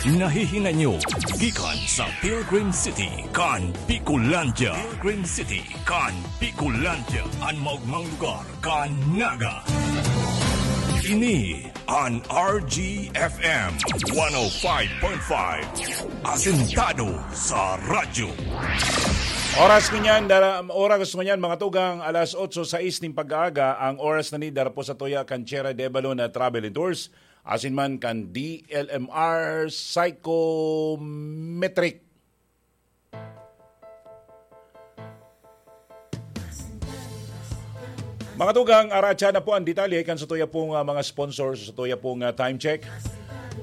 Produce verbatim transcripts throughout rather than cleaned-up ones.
Nahihinay nyo gikan sa Pilgrim City kan Bicolandia. Pilgrim City kan Bicolandia, an maogmang lugar kan Naga. Ini an R G F M one oh five point five, asentado sa radyo. Oras ngunyan, dara-, oras ngunyan, mga tugang, alas otso sais nin pag-aaga, ang oras na ni dara po sa tuya kan Sierra de Balon na Travel and Tours, asin man kan D L M R Psychometric. Mga tugang, aratsa na po ang detalye kan sa tuya pong, ah, mga sponsors, sa tuya pong, ah, time check.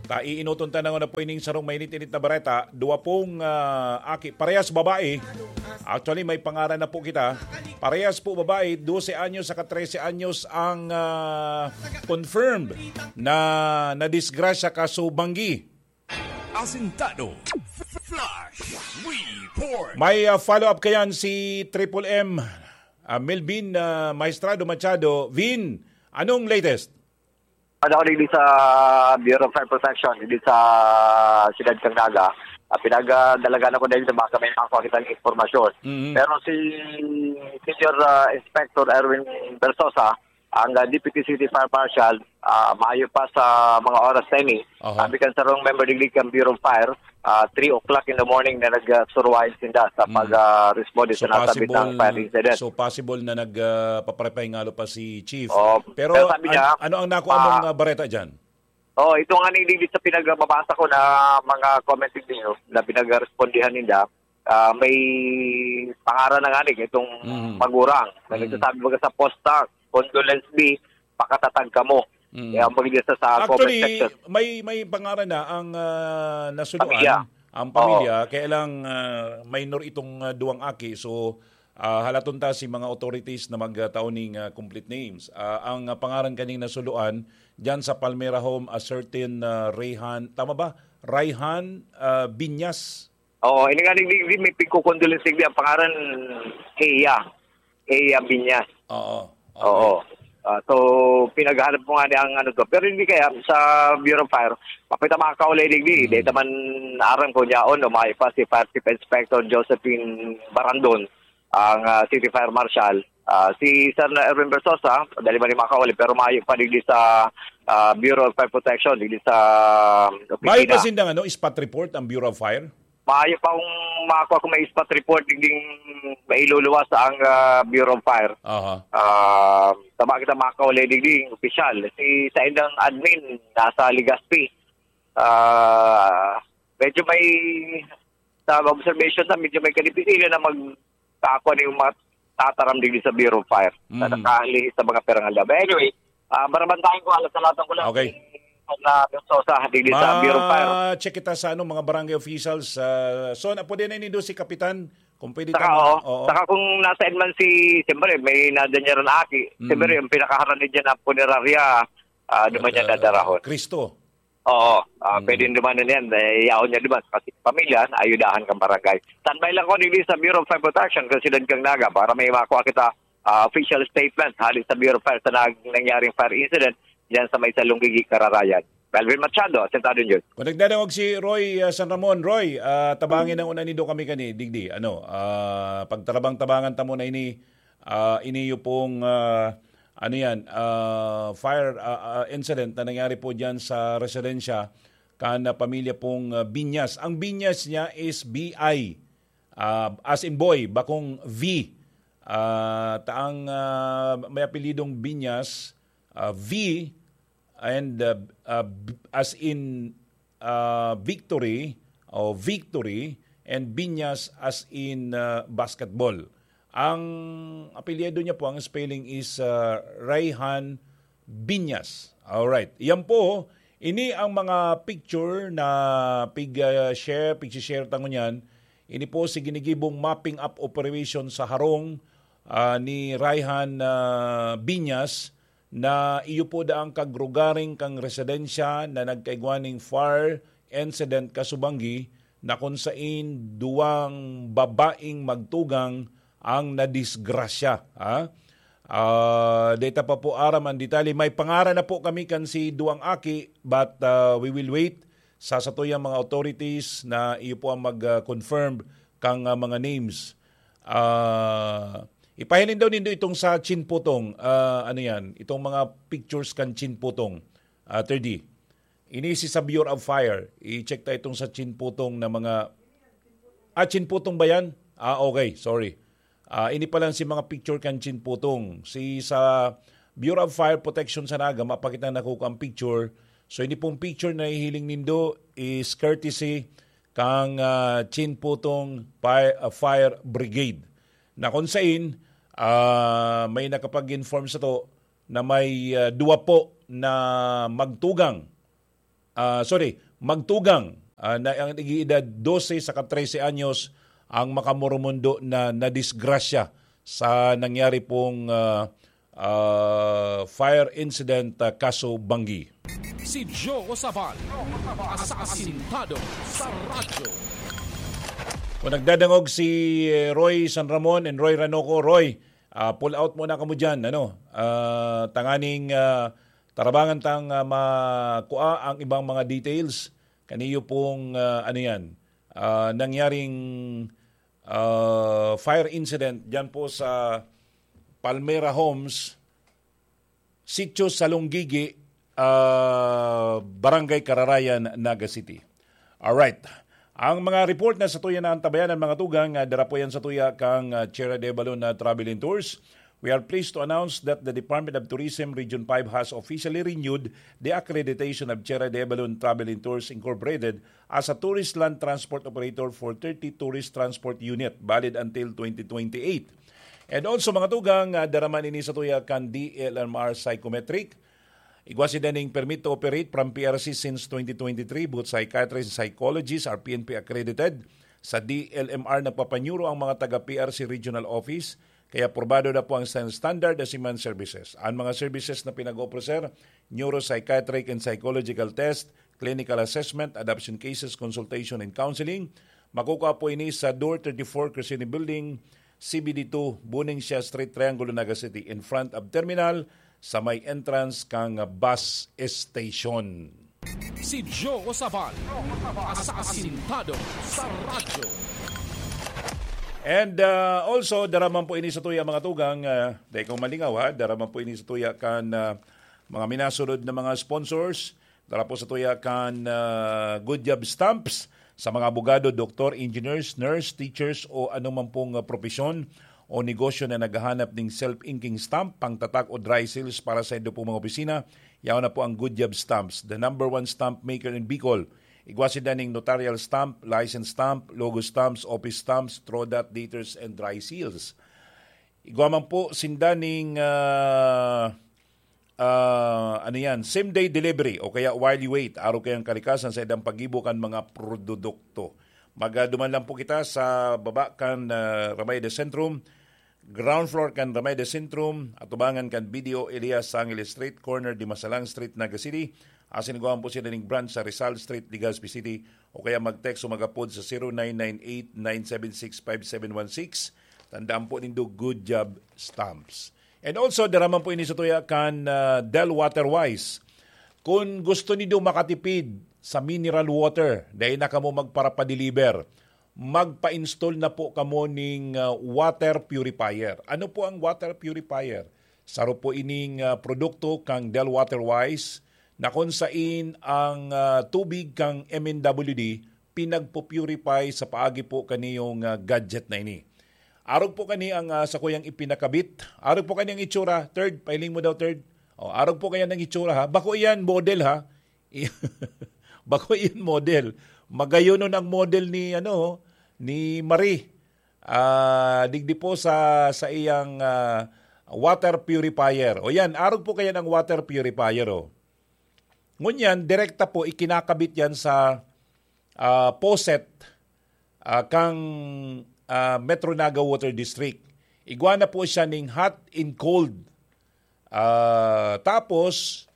Ta iinoton ta na po ining sarong mainit-init na bareta. Dua pong, ah, aki, parehas babae. Actually, may pangaran na po kita. Parehas po babae, dose anyos saka trese anyos ang, ah, confirmed na nadisgrasya kaso banggi. Asintado. Flash Report. May, ah, follow-up kayan si Triple M, ah, Melvin, ah, Maestrado Machado. Vin, anong latest? Ano ako digdi sa Bureau of Fire Protection, digdi sa Siyudad kan Naga. Ah, pinagdalagan ako dahil sa baka may makuha kitang impormasyon. Mhm. Pero si Senior, ah, Inspector Erwin Bersosa, ang, ah, Deputy City Fire Marshal, ah, maayo pa sa mga oras na ini. Aha. Sabi kan sarong member digdi kan Bureau of Fire, ah, three o'clock in the morning na nagsurwayan sinda sa Mm. pag, ah, responde So, sa nasabit possible, ng fire incident. so, possible na nag, ah, paparepahingalo pa si Chief. Oh, Pero pero sabi an-, niya, ano ang nakuha ah, mong, ah, bareta dyan? Oh, ito nga ni digdi sa pinagbabasa ko na mga comment ninyo na pinagrespondihan ninda, ah, may pangaran na nga ni itong Mhm. magurang na Mhm. nagsasabi, baga sa posta, "Condolence B, pakatatag kamo." Mhm. Kaya ang pag-, sa, sa comment Actually, section. may, may pangaran na ang, ah, nasuluan, Pamilya. ang pamilya, Oo. kaya lang, ah, minor itong, ah, duwang aki. So, ah, halaton ta si mga authorities na magtao ning, ah, complete names. Ah, ang, ah, pangaran kaning nasuluan, dyan sa Palmera Home, a certain, ah, Rayhan, tama ba? Rayhan, ah, Binyas. Oo, ini nga, di, di, di, may pagkukondolensya, di, ang pangaran, Eya. Eya Binyas. Oo. Okay. Oo. Ah, so, pinaghanap mo nga ni ang ano to. Pero hindi kaya, sa Bureau of Fire, mapita makakaulay digdi. Hmm. Dahil naman aram ko niya, o, maayo pa si Fire Chief Inspector Josephine Barandon, ang, ah, City Fire Marshal. Ah, si Sir na Erwin Versosa, dali man ni makauli, pero maayo pa digdi sa, ah, Bureau of Fire Protection, digdi sa Maayo opisina. pa sindang, ano, spot report ang Bureau of Fire? Maayo pa kung mako ako may spot report, digding mailuluwas ang, ah, Bureau of Fire. Aha. Ah, tama kita makauli, digding opisyal. Si sa indang admin, nasa Legazpi. Ah, medyo may, sa observation na, medyo may kadipisila na mag-, kakuha na yung mga tataram digdi sa Bureau of Fire. Sa Mm. nakahali sa mga pirangalda. But anyway, ah, barabantayan ko, alas sa lahat ko lang Okay. si Sir na Versosa digdi sa Bureau of Fire. Ma-check kita sa, ano, mga barangay officials. Ah, so, na, pwede na inindo si Kapitan, kung pwede Saka, tama. oo. Oo. Saka kung nasa man si, siyempre, may nadanyar na aki. Mm. Siyempre, yung pinakaharani dyan na punerarya, ah, duman niya Ah, dadarahon. Cristo. Oo, ah, Mm. pwedeng dumanan yan. Eh, yaon niya duman. Kasi pamilya, ayudahan kang barangay. Standby lang ko, digdi sa Bureau of Fire Protection, kasi dan kang Naga, para may makuha kita, ah, official statement hali sa Bureau of Fire sa nag-, nangyaring fire incident diyan sa may Salonggigi, Kararayan. Melvin Machado, Asentado News. Kung nagdadangog si Roy, ah, San Ramon, Roy, ah, tabangin ang una nindo kami kani, digdi. Ano, ah, pagtarabang-tabangan ta muna ini, ah, iniyo pong, ah, ano yan, ah, fire, ah, ah, incident na nangyari po dyan sa residensya kan, ah, pamilya pong, ah, Binyas. Ang Binyas niya is B I, ah, as in boy, bakong V. Ah, taang, ah, may apelyidong Binyas, ah, V, and, ah, ah, b-, as in, ah, victory o victory, and Binyas as in, ah, basketball. Ang apelyido niya po, ang spelling is, ah, Rayhan Binyas. Alright. Yan po, ini ang mga picture na pig, ah, share, pig-share ta ngunyan. Ini po si ginigibong mapping up operation sa harong, ah, ni Rayhan, ah, Binyas na iyo po daang kagrugaring kang residensya na nagkaigwa ning fire incident kasubanggi na kun sain duwang babaeng magtugang ang nadisgrasya, ha? Ah, data pa po aram ang detalye. May pangaran na po kami kan si duwang aki, but, ah, we will wait sa satuyang mga authorities na iyo po ang mag-confirm kang, ah, mga names. Ah, ipahiling daw nindo itong sa Chin Putong, ah, ano yan, itong mga pictures kan Chin Putong, ah, thirty. Ini si sa Bureau of Fire. I-check ta itong sa Chin Putong na mga, ah, Chin Putong ba yan? Ah, okay, sorry. Ah, ini pa lang si mga picture kan Chin Putong. Si sa Bureau of Fire Protection sa Naga, mapakita na ko ang picture. So, ini pong picture na hihiling nindo is courtesy kang, ah, Chin Putong Fire, ah, Fire Brigade. Na kung sain, ah, may nakapag-inform sa to na may, ah, duwa po na magtugang, ah, sorry, magtugang, ah, na ang nag-iedad dose saka trese anyos ang makamoromundo na nadisgrasya sa nangyari pong, ah, ah, fire incident, ah, kaso banggi. Si Joe Sabal, asasintado sa radyo. Kung nagdadangog si, eh, Roy San Ramon and Roy Ranoco, Roy, ah, pull out muna kamo dyan, ano? Ah, tanganing, ah, tarabangan tang, ah, makua ang ibang mga details. Kaniyo pong, ah, ano yan, ah, nangyaring, ah, fire incident dyan po sa Palmera Homes, Sitio Salonggigi, ah, Barangay Kararayan, Naga City. Alright. Ang mga report na satuya na antabayanan, mga tugang, ah, dara po yan satuya kang, ah, Tierra de Balon na Travel and Tours. We are pleased to announce that the Department of Tourism Region five has officially renewed the accreditation of Tierra de Balon Travel and Tours Incorporated as a tourist land transport operator for thirty tourist transport unit, valid until twenty twenty-eight. And also, mga tugang, ah, dara man ini satuya kan D L M R Psychometric. Igwa sinda ning permit to operate from P R C since twenty twenty-three. Both psychiatrists and psychologists are P N P accredited. Sa D L M R, nagpapanyuro ang mga taga P R C Regional Office, kaya aprobado na po ang stan-, standard na Siman Services. Ang mga services na pinag-offer, sir, neuropsychiatric and psychological test, clinical assessment, adoption cases, consultation, and counseling. Makukuha po ini sa Door thirty-four, Crescene Building, C B D two, Buning Siya Street, Triangulo, Naga City, in front of terminal, sa may entrance kang bus station. Si Joe Sabal, asasintado sa radyo. And, uh, also, dara man po ini satuya, mga tugang, uh, dai kong malingaw, ha? Dara man po ini satuya kan, uh, mga minasunod na mga sponsors. Dara po satuya kan, uh, Good Job Stamps sa mga abogado, doktor, engineers, nurse, teachers, o anong man pong, uh, propesyon o negosyo na naghahanap ning self-inking stamp, pangtatag o dry seals para sa indo pong mga opisina. Yaon na po ang Good Job Stamps, the number one stamp maker in Bicol. Igwa sinda ning notarial stamp, license stamp, logo stamps, office stamps, throw dot, daters, and dry seals. Igwa man po sinda ning, ah, ah, ano yan, same day delivery o kaya while you wait, arog kayang kalikasan sa idang paggibo kan mga produkto. Magaduman lang po kita sa baba kan, ah, Ramay de Centrum, ground floor kan Ramay de Centrum, atubangan kan B D O Elias Sangil Street, corner Dimasalang Street, Naga City. Asin igwa man po sila ning branch sa Rizal Street, Legazpi City, o kaya mag-text o mag-apod sa zero nine nine eight nine seven six five seven one six. Tandaan po nindo, Good Job Stamps. And also, dara man po ini satuya kan, ah, Del Water Wise. Kung gusto nindo makatipid sa mineral water, dai na kamo magparapadeliver, magpa-install na po kamo ning, ah, water purifier. Ano po ang water purifier? Saro po ining, ah, produkto kang Del Water Wise na kung sain ang, ah, tubig kang M N W D pinagpo-purify sa paagi po kaniyong, ah, gadget na ini. Arog po kani ang, ah, sakuyang ipinakabit. Arog po kani ang itsura. Third, pahiling mo daw, third. O, arog po kaya ang itsura, ha? Bako iyan model, ha? Bako iyan model. Magayonon ang model ni, ano, ni Marie. Ah, digdi po sa, sa iyang, ah, water purifier. O yan, arog po kaya ng water purifier, o. Ngunyan, direkta po ikinakabit yan sa, ah, faucet, ah, kang, ah, Metro Naga Water District. Igwa na po siya ning hot and cold. Ah, tapos,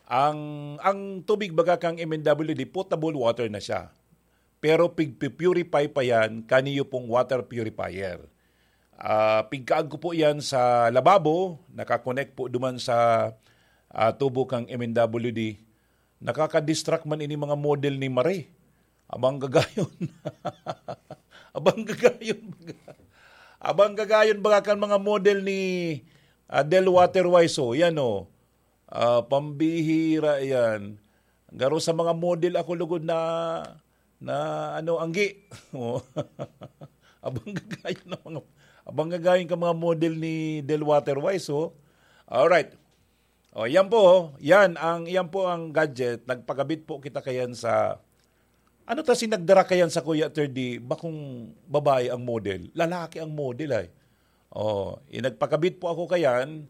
ang, ang tubig baga kang M N W D, potable water na siya. Pero pigpi-purify pa yan kaniyo pong water purifier. Ah, pigkaag ko po yan sa lababo, nakakonect po duman sa, ah, tubo kang M N W D. Nakaka-distract man ini mga model ni Marie. Abang gagayon. Abang gagayon baga. Abang gagayon baga kan mga model ni, ah, Del Waterwise, oh. Yan, oh. Ah, pambihira yan. Garo sa mga model ako lugod na, na ano, anggi. Oh. Abang gagayon ng mga, abang gagayon ka mga model ni Del Waterwise, oh. Alright. Oh, yan po, oh. Yan ang, yan po ang gadget. Nagpakabit po kita kayan sa, ano ta si nagdara kayan sa Kuya Third D? Bakong babae ang model. Lalaki ang model ay. Oh, inagpakabit po ako kayan.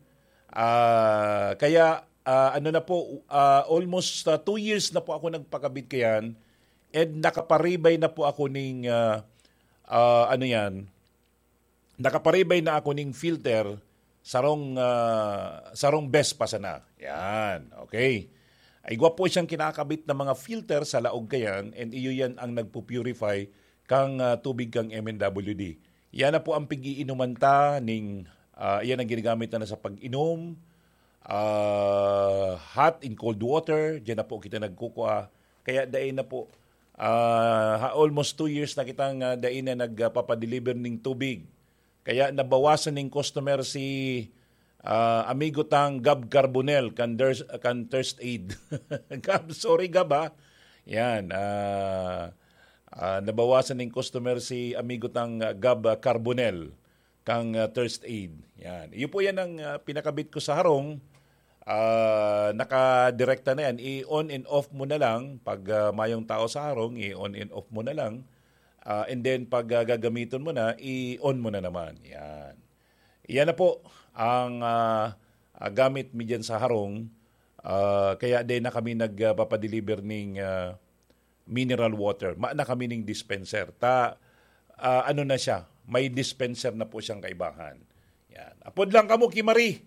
Ah, kaya, ah, ano na po, ah, almost, ah, two years na po ako nagpakabit kayan. And nakaparibay na po ako ning, ah, ah, ano yan, nakaparibay na ako ning filter, sarong, ah, sarong best pa sana. Yan, okay. Ay, gwapo siyang kinakabit na mga filter sa laog kayan, and iyo yan ang nagpupurify kang, ah, tubig kang M N W D. Yan na po ang pag-iinuman ta ning, ah, yan ang ginagamit na sa pag-inom, ah, hot and cold water, diyan na po kita nagkukua. Kaya dai na po, ah, ha, almost two years na kitang, ah, dai na nagpapadeliver ning tubig. Kaya nabawasan ning customer si, ah, amigo tang Gab Carbonel kan Ders-, kan Thirst Aid. Gab, sorry Gab, ha. Yan, ah, ah, nabawasan ning customer si amigo tang, ah, Gab, ah, Carbonel kang, ah, Thirst Aid. Yan. Iyo po yan ang, ah, pinakabit ko sa harong. Ah, nakadirekta na yan. I-on and off mo na lang. Pag, ah, mayong tao sa harong, i-on and off mo na lang. Ah, and then, pag, ah, gagamiton mo na, i-on mo na naman. Yan. Iyan na po ang, ah, ah, gamit mi dyan sa harong. Ah, kaya din na kami nagpapadeliver ning, ah, mineral water. Ma na kami ning dispenser. Ta, ah, ano na siya, may dispenser na po siyang kaibahan. Yan. Apod lang kamo ki Marie.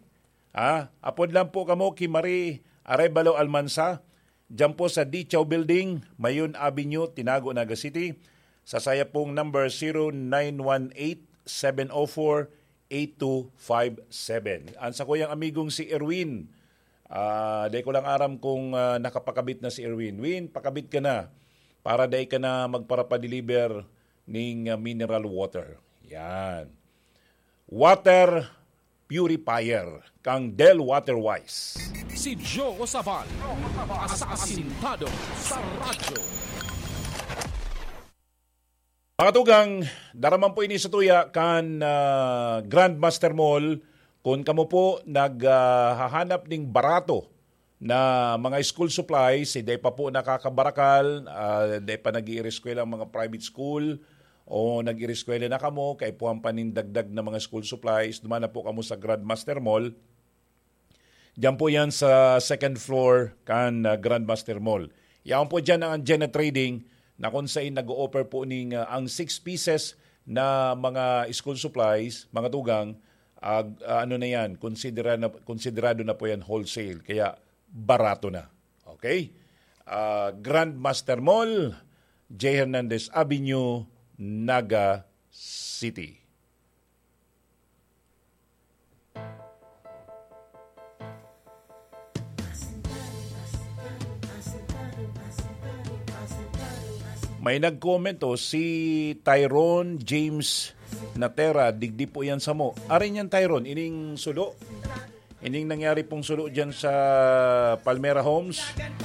Ha? Apod lang po kamo ki Marie Arevalo Almansa. Diyan po sa Dichaw Building, Mayon Avenue, Tinago, Naga City. Sa saya pong number, zero nine one eight, seven oh four, eight two five seven. Ang sa kuyang amigong si Erwin, ah, dai ko lang aram kung, ah, nakapakabit na si Erwin. Win, pakabit ka na para dai ka na magparapadeliver ning, ah, mineral water. Yan. Water purifier kang Del Waterwise. Si Joe Sabal, asasintado sa radyo. Mga tugang, daraman po ini sa tuya kan, ah, Grandmaster Mall. Kung kamo po naghahanap ning barato na mga school supplies, si dai pa po nakakabarakal, ah, dai pa nag-iireskwela ang mga private school, o nag-iireskwela na kamo, kaipuhan pa nin dagdag na mga school supplies, duman na po kamo sa Grandmaster Mall. Diyan po yan sa second floor kan, ah, Grandmaster Mall. Yaon po dyan ang Anjena Trading na kung saan nag-o-offer po ning, ah, ang six pieces na mga school supplies, mga tugang, ah, ah, ano na yan, konsidera na, konsiderado na po yan wholesale. Kaya barato na. Okay? Ah, Grandmaster Mall, J Hernandez Avenue, Naga City. May nag-comment, oh, si Tyrone James Natera, digdi po yan samo. Arin yan, Tyrone, ining sulo? Ining nangyari pong sulo dyan sa Palmera Homes?